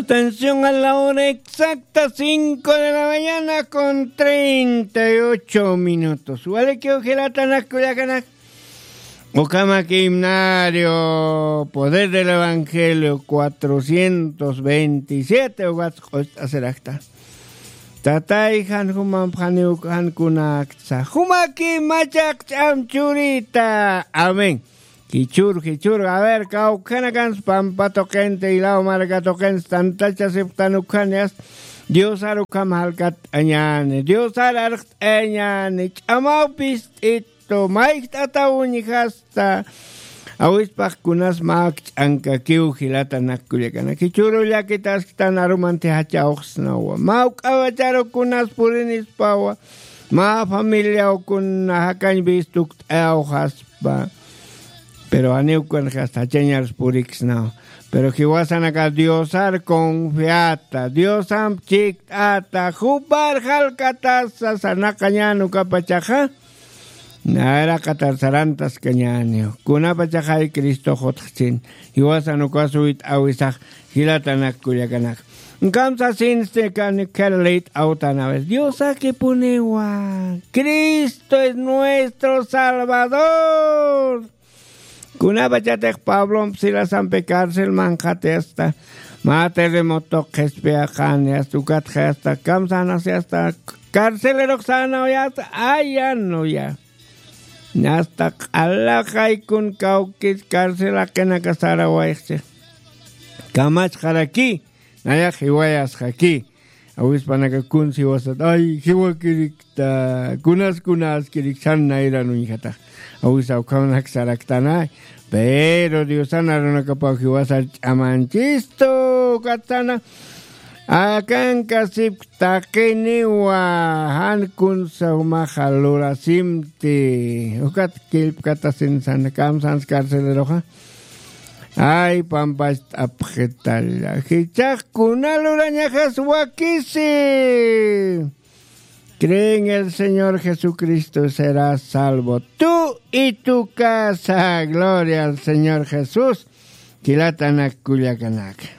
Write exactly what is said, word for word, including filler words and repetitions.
Atención, a la hora exacta, cinco de la mañana con treinta y ocho minutos. Walikiw jilatanak kullakanak. Ukhama himnario, Poder del Evangelio cuatrocientos veintisiete, ukat q'ust'asirakta. Tatay jan jumamp janiw jan kunakta. Jumaki machaq ch'am churita. Amén. Jichhür, jichhür, a ver, kawkhanakans pampa tuqinta, ilaw marka tuqinsa tantachasipxtan ukhan yasta. Diosar ukham jalkatt'añäni, Diosar arxt'añäni, ch'amaw pist'itu, mayjt'ataw uñjasta. Awispax kunas mä akch'ankakiw jilatanak kullakanak. Jichhüru llakitasktan arumanti jachawxsnawa. Mä uk'awacharu kunas purinispawa. Mä familiaw kuna jakañ vistukt'ayawxaspa. Pero janiw kunxas jachañars puriksnaw. Pero jiwasanaka Diosar confiata, Diosamp chikt'ata, jupar jalkatasa sarnaqañän ukapachaxa. Nayraqatar sarantaskañäniw. Kunapachaxay Cristox utjchin. Jiwasan ukas uyt'äwisax jilatanak kullakanak. Kamsasinsti kanik kharlït awtanawi. Diosakipuniwa. Cristo es nuestro Salvador. Kunapachatix Pablomp Silasampi carcel manqhati asta. Mä terremotoq qhispiyaqani asta, ukatxi asta kamsanasi asta. Carcelerux sänawayasta, ayanuya. Asta q'alaxaykun kawkis carcelaqinaka sarawayxchi. Kamachxaraki, nayax jiwayasxaki. Awispanaka kuns jiwasat, ay, jiwakirikta, kunas kunaskirik san nayran uñjatax. Awisa ukhamanak saraktanay. Pero Diosan arunakapaw jiwasar ch'amanchistu, ukatsana. Akankasipk taqiniwa, jan kunsa jumaxa lurasimti. Ukat killpkatasin san, kamsans carceleroxa. Ay, pampacht'apxitalla. Jichhax kuna lurañaxas wakisi. Cree en el Señor Jesucristo, serás salvo tú y tu casa. Gloria al Señor Jesús. Jilatanak kullakanak.